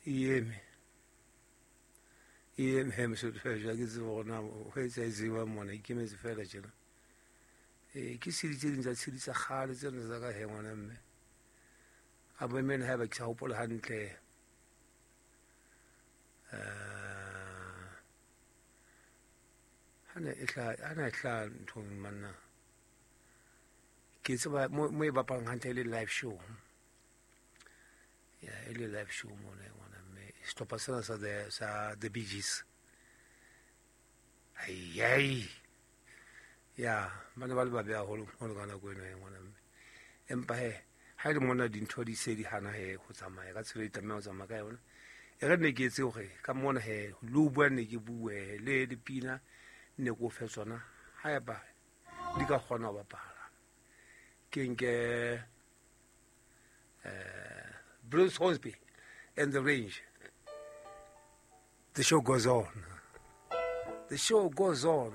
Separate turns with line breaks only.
E eme. E eme he mosotho fela ke tsebe gore na go etsa e tseba mona ikemetse fela tjena. Ee, ke tshedi tse ding tsa tshedi tsa kgale tsena tsa ka he ngwana mme. A bo emene haeba ke sa hopola hantle. Hana e hla hana e hla nthong manna. Ke tseba mo e bapalang hantle e le live show. Ya e le live show mona ngwana mme sehlopha sena sa the sa the Bee Gees. Ai ai. Ya ba ne ba le babe haholo holo ka nako eno e ngwana mme. Empa he ha e le mona dintho di se di hana he ho tsamaya ka tsela e tlameha ho tsamaya ka yona. E re ne ke etse hore ka mona he le ho bua ne ke bue le dipina ne ke o fe tsona haeba di ka kgona ho bapala. Ke nke Bruce Hornsby and the Range. The show goes on. The show goes on.